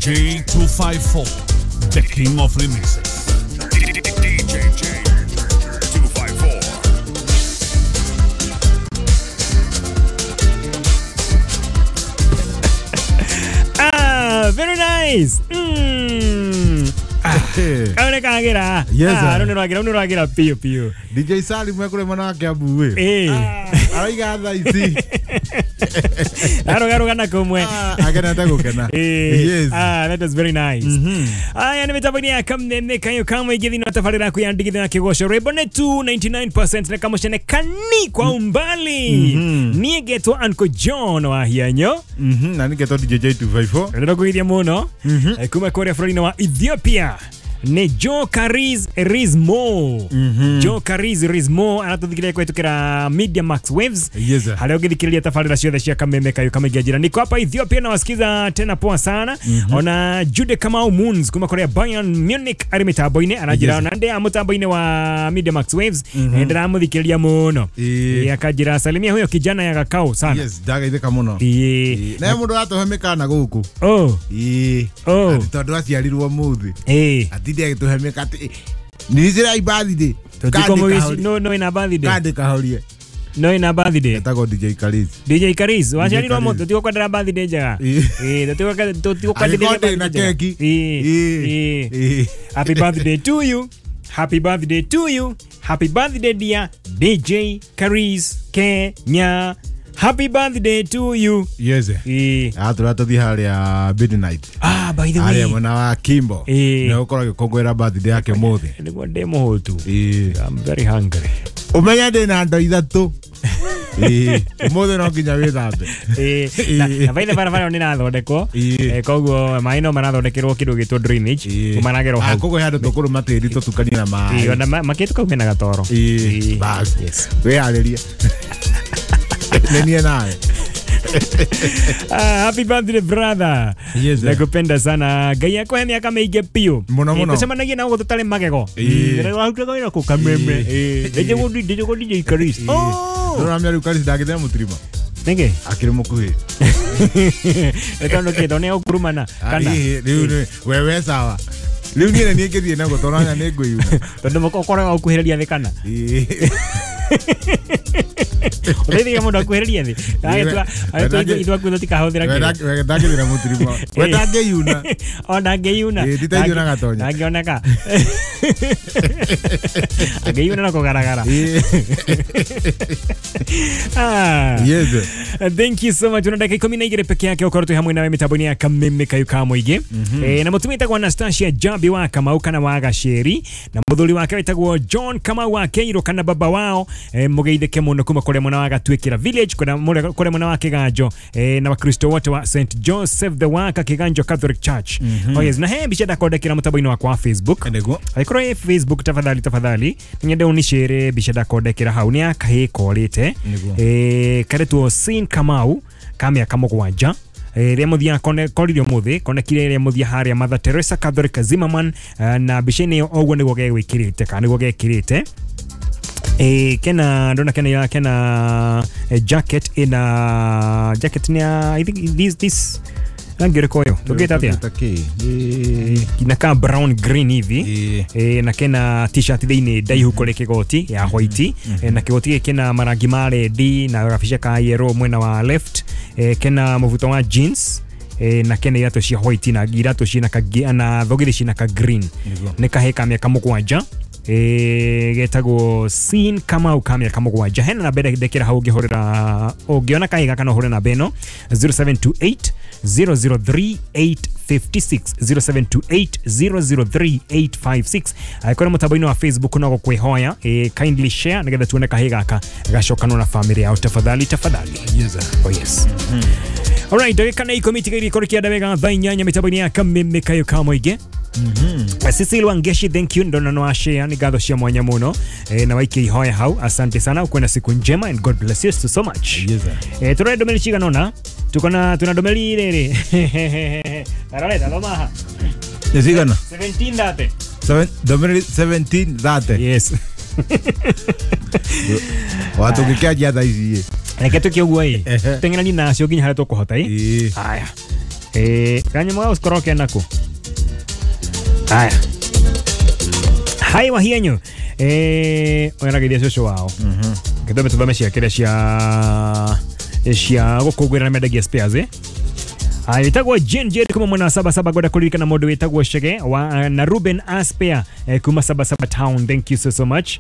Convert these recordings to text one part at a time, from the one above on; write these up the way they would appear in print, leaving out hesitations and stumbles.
J254, the king of remixes. DJ J254. Ah, very nice. Kau nĩ kagĩra. Yes, Ah, sir. rũu nĩ rwagĩra, rũu nĩ rwagĩra piũ piũ. DJ Salim ekũrĩ mwena wa Kiambu ĩ. Ĩ. Araiga thaa ici. Arũgarũga na kũmwe. Ah, akenete gũkena. Eh, Yes. ah, that was very nice. Aya nĩ mĩtambo-inĩ ya kamnene kayo kamwe ingĩ thĩinĩ wa tabarĩra yaku ya ndigithũ ya kĩgoco rwĩmbo nĩ 299% na kamũcene kani kwa umbali. Niĩ ngetwo Uncle John wa Hianyo. Na nĩngetwo DJ J254. Ndĩrakũgeithia mũno. Kuma kũrĩa bũrũri-inĩ wa Ethiopia nĩ Joe Caris Rizmo. Joe Caris Rizmo aratũthikĩrĩria kũhĩtũkĩra Media Max Waves. Yes, sir. Harĩa ũngĩthikĩrĩria tabarĩra ciothe cia kameme kayo kamaingĩ njĩra. Niko hapa Ethiopia na wasikiza tena poa sana. Ona Jude Kamau Moons kuma kũrĩa Bayern Munich arĩ mĩtambo-inĩ aranjĩra Yes. ona ndĩ a mũtambo-inĩ wa Media Max Waves. Ndĩramũthikĩrĩria mũno. Ĩĩ. Akanjĩra salimia huyo kijana ya Gakao sana. Yes, ndagaithĩka mũno. Ĩĩ. Na mũndũ atũhe mĩkana gũkũ. Oh. Ĩĩ. Oh. Atĩ tondũ aciarirwo mũthĩ. Ĩĩ. Atinde agĩtũhe mĩka atĩ nĩnjĩra birthday. Tũtiko mũgici no no ina birthday. Kandi kahorie. No ina birthday. Etagwo DJ Karis. DJ Karis, waciarirwo Karis. mũthĩ tũtigũkwendera birthday njega. Ĩĩ. Ĩĩ, tũtigũkwendithĩria Angĩkorwo ndĩ na birthday njega. keki. Ĩĩ. Ĩĩ. Ĩĩ. Ĩĩ. Happy birthday to you. Happy birthday to you. Happy birthday dear DJ Karis Kenya. Happy birthday to you. Yes. Ĩĩ. Atũra tũthiĩ harĩa midnight. Ah, by the way. Harĩa mwena wa Kimbo. Ĩĩ. Nĩ ũkorwo agĩkũngũĩra birthday yake mũthĩ. Nĩguo ndĩ mũhũtu. Ĩĩ. I'm very hungry. Ũmenye ndĩ na ndo ithatũ. Ĩĩ. Ũmũthĩ no nginya wĩthambe. Ĩĩ, na baithe barabara ĩyo nĩ ĩrathondekwo. Ĩĩ. Koguo maĩ no marathondekerwo kĩndũ gĩtwo drainage. Ĩĩ. Maragerwo Ah, hau. koguo he handũ tũkũrũma tĩri tũtukanie na Ĩĩ, maĩ. ona makĩtu kau mena gatoro. Ĩĩ. Ĩĩ. Bas. Yes. Wĩharĩrie. Nĩ niĩ nawe. Ah, happy birthday brother. Yes, sir. Nakupenda sana. Ngai akũhe mĩaka mĩingĩ piũ. Mũno, mũno. Tũcemanagie na gũkũ tũtarĩ magego. Ĩĩ. Ndĩrarutaga wĩra kũ Kameme. Ĩĩ. Ndĩjagwo DJ Karis. Oh. Ndũrona mĩario Karis ndangĩthĩa mũtirima. Nĩkĩ? Akĩrĩ mũkuhĩ. Nĩ tondũ kĩ? Tondũ nĩ egũkurumana kana? Ĩĩ, rĩu we we sawa. Rĩu niĩ nĩ niĩ ngĩthiĩ naguo tondũ anya nĩ ngwĩyuna. Tondũ ũkoraga ũkuhĩrĩria thĩ kana? Ĩĩ. Ũteithagia mũndũ akuhĩrĩrie thĩ. Agĩtua ithuĩ akuĩ tũtikahũthĩra kĩndũ. We ndangĩthiĩ na mũtirima. We ndangĩyuna. O ndangĩyuna. Ĩĩ, nditaithio na gatonya. Ndangĩoneka. Angĩyuna na kũgaragara. Ĩĩ. Ah. Yes. Thank you so much. Una dakika 12 peke yake ukorwo twĩ hamwe nawe mĩtambo-inĩ ya kameme kayu ka mũingĩ. Na mũtumia wĩtagwo Anastasia Jambi wa Kamau kana wa Gacĩri na mũthuri wake wĩtagwo John Kamau wa Keiro kana baba wao, mũgeithĩke mũno kuma kũrĩa mwena wa Gatuĩkĩra village kũrĩa mwena wa Kĩganjo, na wakristo wote wa St Joseph the Worker Kĩganjo Catholic Church. Oh yes, na he mbica ndakondekera mũtambo-inĩ wakwa wa Facebook. Nĩguo. Angĩkorwo ĩ Facebook tafadhali tafadhali nyende unicere mbica ndakondekera hau nĩ ya kahĩĩ korĩte. Nĩguo. Karetwo Sin Kamau ka mĩaka 7 rĩa mũthia koririo mũthĩ konekire rĩa mũthia harĩa Mother Teresa Catholic Zimmerman, na mbica-inĩ ĩyo oguo nĩguo gegwĩkĩrĩte kana nĩguo gekĩrĩte. Kena ndona kena kena jacket ina jacket ni ya, I think this rangi ũrĩkũ ũyũ tũngĩta atĩa? Tũngĩta kĩ? Ĩĩ. Na ka brown green hivi. Ĩĩ. Na kena t-shirt thĩinĩ ndaihu kũrĩ kĩgoti ya white. Na kĩgoti gĩkĩ kĩna marangi ma red na gabica ka yellow mwena wa left. Kena mũbuto wa jeans. Na kena iratũ cia white na iratũ ciĩna ka na thogithi ciĩna ka green. Nĩguo. Nĩ kahĩĩ ka mĩaka 7 getagwo Sin Kamau ka mĩaka 7. Hena namba ĩrĩa ndekĩra hau ũngĩhũrĩra ũngĩona kahĩĩ gaka no ũhũre namba ĩno 0728 003 856 0728 003 856. Angĩkorwo mũtambo-inĩ wa Facebook no gũkwĩhoya, kindly share nĩgetha tuone kahĩĩ gaka gacokanwo na famĩlĩ yao tafadhali tafadhali. Yes, sir. Oh yes. Alright, ndagĩka nĩ 10 itigaire ikorwo kĩanda wega thaa 8 mĩtambo-inĩ ya kameme kayo ka mũingĩ. Cecil Wangeshi, thank you ndona no share ni ngatho cia mwanya mũno, na waikia ihoya hau asante sana ukuwe na siku njema and God bless you so much. Yes, sir. Tũrore ndũmĩrĩri cigana ũna tuko na tuna ndũmĩrĩri rĩrĩ tarore thoma haha. Nĩ cigana? 17:30. Ndũmĩrĩri 17:30. Yes. Watũngĩkĩanjia thaa ici ĩ. Reke tũke ũguo ĩ Ehe. teng'erani nacio nginya harĩa tũkũhota ĩ. Ĩĩ. Haya. Kanyamũ ga gũkorwo kenako. Haya. Hai wahienyu. Oya cũcũ wao. Gĩthome tũthome cia kĩrĩa cia gũkũngũĩra na mendagia spares Aya, wĩtagwo Jane Jerry kuma mwena wa Sabasaba ngwenda kũririkana mũndũ wĩtagwo Chege wa na Ruben Aspea kuma Sabasaba town. Thank you so so much.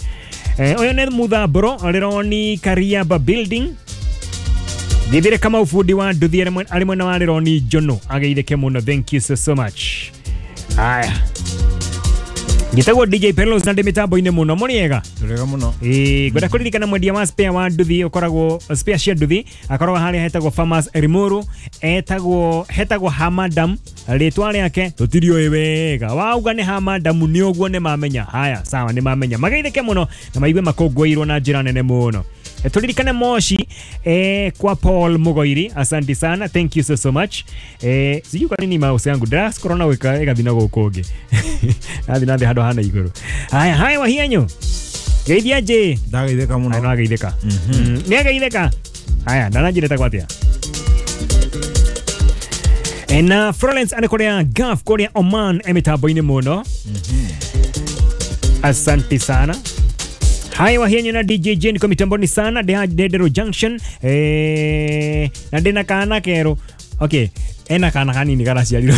Ũyũ nĩ Muthambũro Rironi Kariaba building. Githire kama ufundi wa nduthi arĩ mwena wa Rironi Njono ageithĩke mũno. Thank you so so much. Aya, ngĩtagwo DJ Pelos na ndĩ mĩtambo-inĩ mũno mũrĩega. Tũrega mũno. Ngwenda kũririkana mwendia wa spare wa nduthi ũkoragwo spare cia nduthi akoragwo harĩa hetagwo Farmers Limuru, etagwo hetagwo Hamadam, rĩtwa rĩake tũtiriũĩ wega, wauga nĩ Hamadam nĩ ũguo nĩ mamenya. Haya, sawa, nĩ mamenya, mageithĩke mũno na maigue makũngũĩirwo na njĩra nene mũno. Turirikane Moshi kwa Paul Mugoiri, asante sana, thank you so so much. Sijui kwa nini mouse yangu das corona weka ĩgathiĩ na gũkũ ũngĩ athiĩ na thĩ handũ hana igũrũ. Haya, haya wahianyu geithia nje. Ndageithĩka Aya, mũno. no ageithĩka. Nĩ ageithĩka. Haya, ndananjĩre tagwo atĩa. Na Florence arĩ kũrĩa Gulf kũrĩa Oman e mĩtambo-inĩ mũno. Asante sana. Hai wahienyu na DJ Jane kwa mitamboni sana Ndero Junction na ndina kana kero. Okay, ena kana kanini karaciarirwo.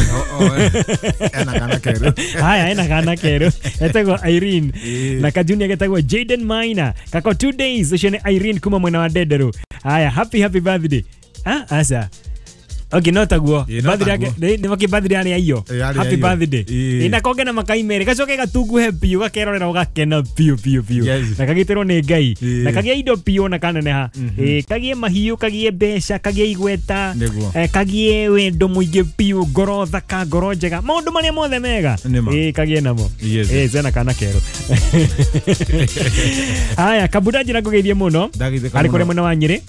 Ena kana keru. Haya, ena kana kero etagwo Irene na kajunia getagwo Jaden Minor kako 2 days ucio nĩ Irene kuma mwena wa Ndenderu. Haya, happy happy birthday. Ah, asa. Okay, no taguo. Ĩ, no Birthday yake taguo. nĩ maki birthday arĩ aiyo. Ĩ, arĩ Happy aiyo. birthday. Ĩ. Ĩ, na konge na makai merĩ gacoke gatunguhe biũ gakerorera ũgakena biũ biũ biũ. Yes. Na kagitĩrwo nĩ Ngai. Ĩ. Na kagĩe indo biũ na kaneneha. Ĩ, kagĩe mahiũ, kagĩe mbeca, kagĩe igweta. Nĩguo. Kagĩe wendo mũingĩ biũ, ngoro thaka, ngoro njega. Maũndũ marĩa mothe mega. Nĩma. Ĩ, kagĩe namo. Yes. Ĩ, cena kana kerũ. Haya, Kabuda njĩra ngũgeithie mũno. Ndageithĩka Arĩ kũrĩa mũno. mwena wa Nyĩrĩ.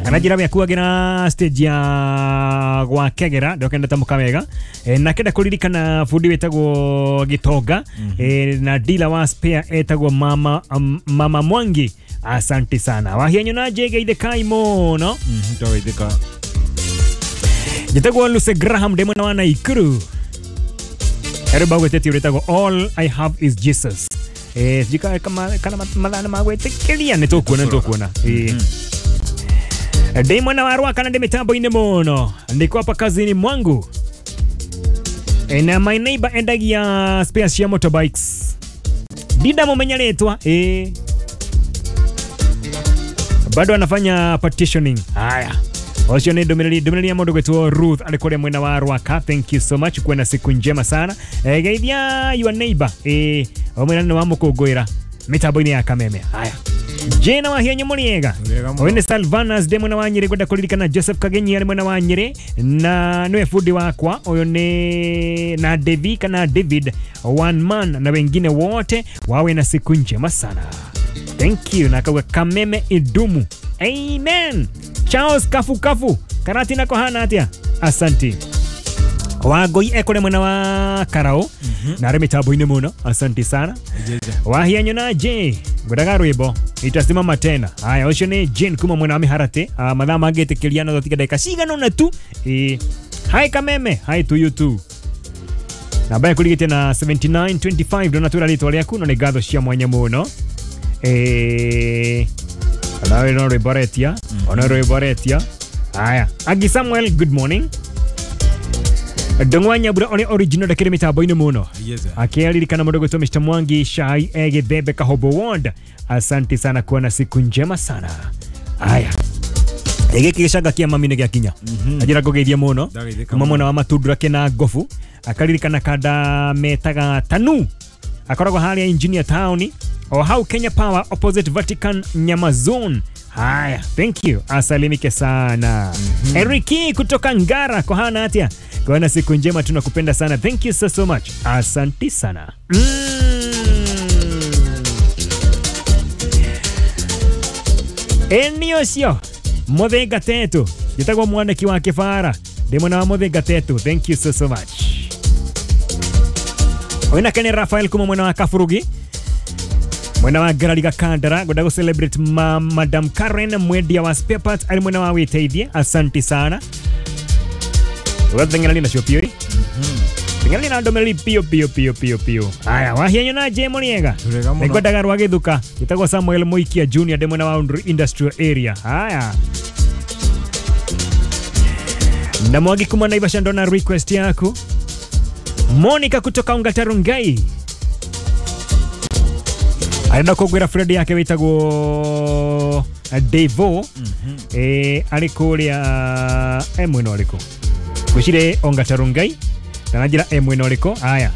Kana njĩra we akuagĩra stage ya gwakegera ndokenda tamũka wega. Na kenda kũririkana bundi wĩtagwo Gĩtonga na dealer wa spare etagwo Mama, Mama Mwangi. Asante sana wahianyu na njegeithĩkai mũno. Twageithĩka. Njĩtagwo Lucy Graham ndĩ mwena wa Naikuru. Erũmba gwĩtĩtie rĩtagwo All I Have Is Jesus. Sijui kana mathaa nĩ magwĩtĩkĩria nĩ tũkuona nĩ tũkuona. Ndĩ mwena wa Rwaka na ndĩ mĩtambo-inĩ mũno, niko hapa kazini mwangu. Na my neighbor endagia spares cia motorbikes. Ndindamũmenya rĩtwa. Bado anafanya partitioning. Haya, ũcio nĩ ndũmĩrĩri ya mũndũ gwĩtwo Ruth arĩ kũrĩa mwena wa Rwaka. Thank you so much, kuwe na siku njema sana. Geithia your neighbor. Ũmwĩra nĩ wamũkũngũĩra mĩtambo-inĩ ya Kameme. Haya, Jena wahianyu mũrĩega. Wega mũno. Ũyũ nĩ Salvanas ndĩ mwena wa Nyĩrĩ ngwenda kũririkana Joseph Kagenyi arĩ mwena wa Nyĩrĩ na nĩwe bundi wakwa ũyũ nĩ na Devi kana David one man na wengine wote wawe na siku njema sana. Thank you. Na akauga Kameme idumu. Amen. Charles Kafu Kafu karati nako hana atia. Asanti. Wangoi ekore mwena wa Karau na arĩ mĩtambo-inĩ mũno. Asanti sana. Wahianyu na J ngwendaga rwĩmbo itasimama tena. Haya, ũcio nĩ Jane kuma mwena wa Mĩharatĩ. Mathaa mangĩtĩkĩria no tũtige ndagĩka cigana ũna tu. Hi Kameme, hi to you too. Namba yaku rigĩte na 7925 ndonatwĩra rĩtwa rĩaku no nĩ ngatho cia mwanya mũno. Nawe no rwĩmbo aretia, ona rwĩmbo aretia. Haya, Agi Samuel, good morning. Ndong'wa Nyambura ũrĩa original ndakĩrĩ mĩtambo-inĩ mũno. Yes, sir. Akiaririkana mũndũ gwĩtwo Mr. Mwangi Shai Egithembe Kahobo Ward. Asante sana, kuwa na siku njema sana. Haya, gĩkĩ gĩcanga kĩa mami nĩ gĩakinya. Anjĩra ngũgeithie mũno Ndageithĩka kuma mũno. mwena wa Matundura kĩna ngobu. Akaririkana kanda metaga Tanu, akoragwo harĩa Engineer Town o hau Kenya Power opposite Vatican Nyama Zone. Haya, thank you, asalimike sana. Eriki kutoka Ngara, kohana atia, kuona siku njema, tunakupenda sana. Thank you so so much, asanti sana. Eni ũcio Mũthinga Tetu, njĩtagwo mwaniki wa kĩbara, ndĩ mwena wa Mũthinga Tetu. Thank you so so much. Ũyũ nake nĩ Rafael kuma mwena wa Kaburugi, mwena wa Ngarariga Kandara. Ngwenda gũ celebrate Madam Karen mwendia wa spare parts arĩ mwena wa Wĩteithie. Asanti sana. Ugateng'erania nacio piũ ĩ. Teng'erania na ndũmĩrĩri piũ piũ piũ piũ piũ. Aya, wahianyo na njĩ mũrĩega. Tũrĩega mũno. Nĩngwendaga rwa gĩthuka gĩtagwo Samuel Muikia Junior ndĩ mwena wa Undru Industrial Area. Haya. Na Mwangi kuma Naivasha ndona request yaku. Monica kutoka Ungatarungai arenda kũngwĩra friend yake wĩtagwo Devo arĩ kũrĩa e mwena ũrĩkũ ngwĩciria Ongatarungai na njĩra e mwena ũrĩkũ. Aya,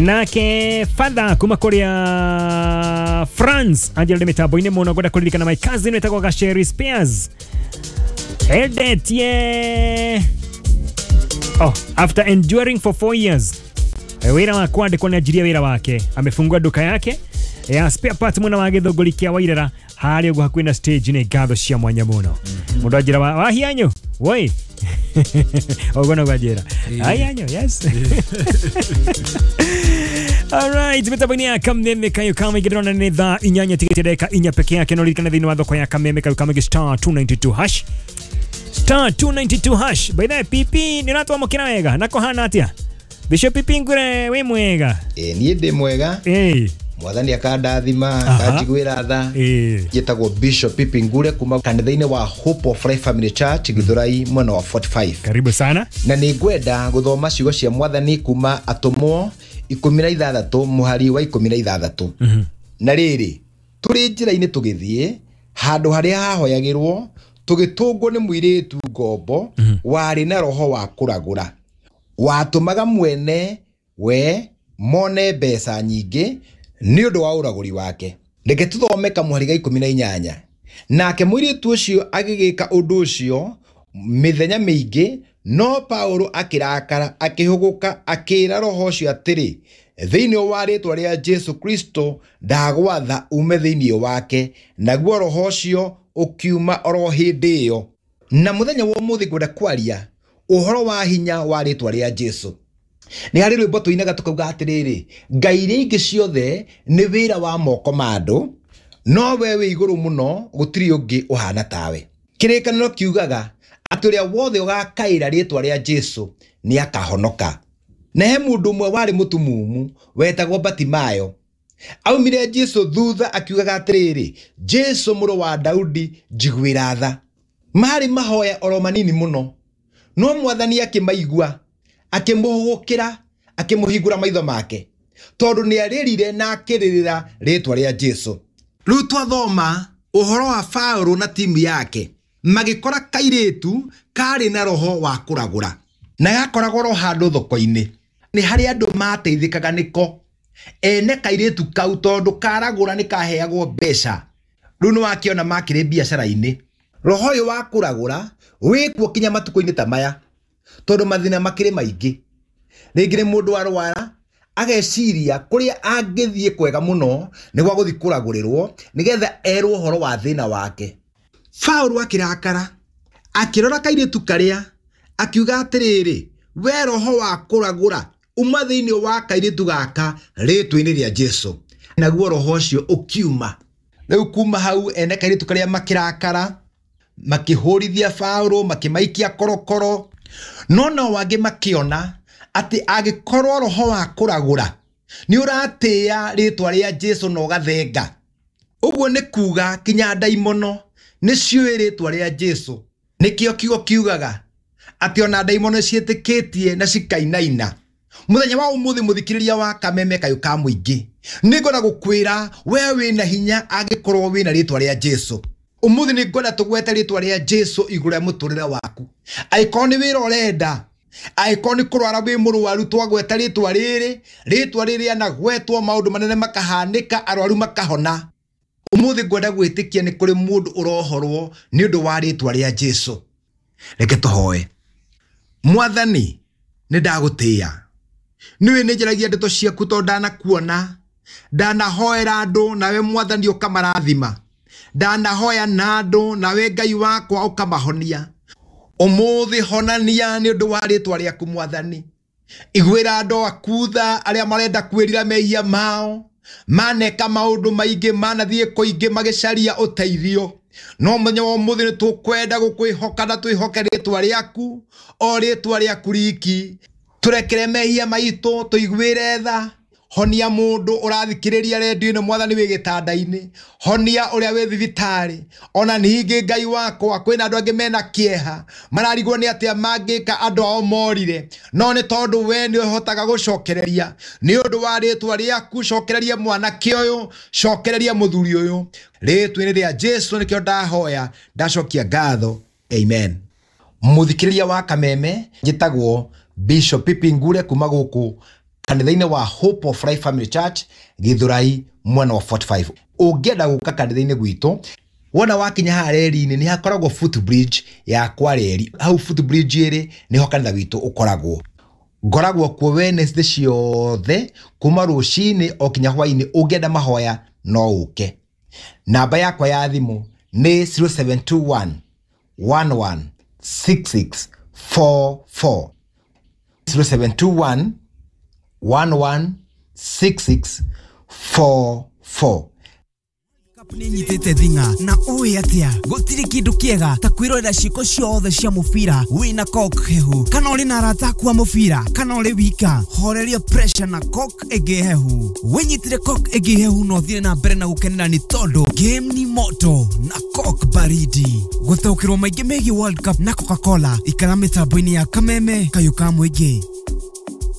nake father kuma kũrĩa France anjĩra ndĩ mĩtambo-inĩ mũno ngwenda kũririkana my cousin wĩtagwo Gasheri Spears endetie oh, after enduring for 4 years wĩra wa kwandĩkwo nĩ anjirie wĩra wake, amefungua duka yake ya spare parts mwena wa Gĩthũngũri kĩa Wairara harĩa ũguo hakuhĩ na stage. Nĩ ngatho cia mwanya mũno. Mũndũ anjĩra wahianyo woi ũguo noguo anjĩra ahianyo yes. Alright, mitambo-inĩ ya Kameme Kayo Kamĩingĩ ndĩrona nĩ thaa 8 tigĩte ndagĩka 4 peke yake. No ririkane thĩinĩ wa thoko ya Kameme Kayo Kamĩingĩ star 292 hash star 292 hash. By the way, PP nĩ ũratwamũkĩra wega na kũhana atĩa? Bishop PP ngwĩre wĩ mwega? Ĩ niĩ ndĩ mwega. Mwathani akandathima akanjiguĩra tha. Njĩtagwo Bishop Pipi Ngure kuma kanitha-inĩ wa Hope of Life Family Church Githurai mwena wa 45. Karibu sana. Na nĩ ngwenda gũthoma ciugo cia mwathani kuma Atũmwo 16 mũhari wa 16. Na rĩrĩ, tũrĩ njĩra-inĩ tũgĩthiĩ handũ harĩa hahoyagĩrwo tũgĩtũngwo nĩ mũirĩtu ngombo warĩ na roho wa kũragũra watũmaga mwene we mone mbeca nyingĩ nĩ ũndũ wa ũragũri wake. Reke tũthome kamũhari ga 18. Nake mũirĩtu ũcio agĩgĩka ũndũ ũcio mĩthenya mĩingĩ, no Paulo akĩrakara akĩhũgũka akĩra roho ũcio atĩrĩ, thĩinĩ wa rĩĩtwa rĩa Jesu Kristo ndagwatha ume thĩinĩ wake. Naguo roho ũcio ũkiuma oro hĩndĩ ĩyo. Na mũthenya wa ũmũthĩ ngwenda kwaria ũhoro wa hinya wa rĩĩtwa rĩa Jesu. Nĩ harĩ rwĩmbo tũinaga tũkauga atĩrĩrĩ, ngai iria ingĩ ciothe nĩ wĩra wa moko ma andũ, no we wĩ igũrũ mũno gũtirĩ ũngĩ ũhana tawe. Kĩrĩkanĩro kiugaga atĩ ũrĩa wothe ũgakaĩra rĩĩtwa rĩa Jesu nĩ akahonoka. Na he mũndũ ũmwe warĩ mũtumumu wetagwo Batimayo. Aumire Jesu thutha akiugaga atĩrĩrĩ, Jesu mũrũ wa Daudi njiguĩra tha. Marĩ mahoya oro manini mũno, no mwathani akĩmaigua akĩmũhũgũkĩra akĩmũhingũra maitho make, tondũ nĩ arĩrire na akĩrĩrĩra rĩĩtwa rĩa Jesu. Rĩu twathoma ũhoro wa Paulo na timu yake magĩkora kairĩtu karĩ na roho wa kũragũra na gakoragwo ro handũ thoko-inĩ. Nĩ harĩ andũ mateithĩkaga nĩko ene kairĩtu kau, tondũ karagũra nĩ kaheagwo mbeca. Rĩu nĩ wakĩona makĩrĩ biacara-inĩ. Roho ũyũ wa kũragũra wĩkuo kinya matukũ-inĩ ta maya, tondũ mathĩna makĩrĩ maingĩ. Rĩngĩ nĩ mũndũ arwara ageciria kũrĩa angĩthiĩ kwega mũno nĩ gwa gũthiĩ kũragũrĩrwo nĩgetha erwo ũhoro wa thĩna wake. Paulo akĩrakara akĩrora kairĩtu karĩa akiuga atĩrĩrĩ, we roho wa kũragũra uma thĩinĩ wa kairĩtu gaka rĩĩtwa-inĩ rĩa Jesu. Naguo roho ũcio ũkiuma. Rĩu kuma hau ene kairĩtu karĩa makĩrakara makĩhũrithia Paulo makĩmaikia korokoro. No nao angĩ makĩona atĩ angĩkorwo roho wa kũragũra nĩ ũratĩĩa rĩĩtwa rĩa Jesu na ũgathenga, ũguo nĩ kuga kinya ndaimono nĩ ciũĩ rĩĩtwa rĩa Jesu. Nĩkĩo kiugo kiugaga atĩ ona ndaimono ciĩtĩkĩtie na cikainaina. Mũthenya wa ũmũthĩ mũthikĩrĩria wa Kameme Kayũ ka Mũingĩ, nĩngwenda gũkwĩra we wĩna hinya angĩkorwo wĩna rĩĩtwa rĩa Jesu. Ũmũthĩ nĩngwenda tũgwete rĩĩtwa rĩa Jesu igũrũ rĩa mũtũrĩre waku. Angĩkorwo nĩ wĩra ũrenda, angĩkorwo nĩ kũrwara wĩ mũrwaru, twagweta rĩĩtwa rĩrĩ, rĩĩtwa rĩrĩ rĩanagwetwo maũndũ manene makahanĩka, arwaru makahona. Ũmũthĩ ngwenda gwĩtĩkia nĩ kũrĩ mũndũ ũrohorwo nĩ ũndũ wa rĩĩtwa rĩa Jesu. Reke tũhoe. Mwathani, nĩ ndagũtĩĩa. Nĩwe nĩ njaragia ndeto ciaku tondũ ndanakuona, ndanahoera andũ nawe mwathani ũkamarathima, ndanahoya na andũ nawe Ngai wakwa ũkamahonia. Ũmũthĩ honania nĩ ũndũ wa rĩĩtwa rĩaku mwathani. Iguĩra andũ aku tha arĩa marenda kwĩrira mehia mao, maneka maũndũ maingĩ, manathiĩ kũingĩ magĩcaria ũteithio. No mũthenya wa ũmũthĩ nĩ tũkwenda gũkwĩhoka na twĩhoke rĩtwa rĩaku, o rĩtwa rĩaku riki. Tũrekere mehia maitũ, tũiguĩre tha. Honia mũndũ ũrathikĩrĩria redio ĩno mwathani wĩ gĩtanda-inĩ, honia ũrĩa wĩ thibitarĩ. Ona ningĩ Ngai wakwa, kwĩna andũ angĩ mena kĩeha, mararigwo nĩ atĩa mangĩka andũ ao morire, no nĩ tondũ we nĩ ũhotaga gũcokereria. Nĩ ũndũ wa rĩtwa rĩaku, cokereria mwanake ũyũ, cokereria mũthuri ũyũ, rĩtwa-inĩ rĩa Jesu nĩkĩo ndahoya, ndacokia ngatho, amen. Mũthikĩrĩria wa Kameme, njĩtagwo Bishop Pipi Ngure kuma gũkũ kanitha-inĩ wa Hope of Life Family Church Githurai mwena wa 45. Ũngĩenda gũka kanitha-inĩ gwitũ, wona wakinya haha reri-inĩ nĩ hakoragwo footbridge ya kwa reri. Hau footbridge ĩrĩ nĩho kanitha witũ ũkoragwo. Ngoragwo kuo Wednesday ciothe kuma rũcinĩ o kinya hwainĩ. Ũngĩenda mahoya no ũke. Namba yakwa ya thimũ nĩ 0721 116644, 0721 116644. Nĩ nyitĩte thing'a na ũĩ atĩa gũtirĩ kĩndũ kĩega ta kwĩrorera ciĩko ciothe cia mũbira wĩna Coke hehu, kana ũrĩ na arata aku a mũbira, kana ũrĩ wika, horeria pressure na Coke ĩngĩ hehu. Wĩnyitĩre Coke ĩngĩ hehu na ũthiĩ na mbere na gũkenera, nĩ tondũ game ni moto na Coke baridi. Gũtaũkĩrwo maingĩ megiĩ World Cup na Coca-Cola, ikara mĩtambo-inĩ ya Kameme kayũ ka mũingĩ.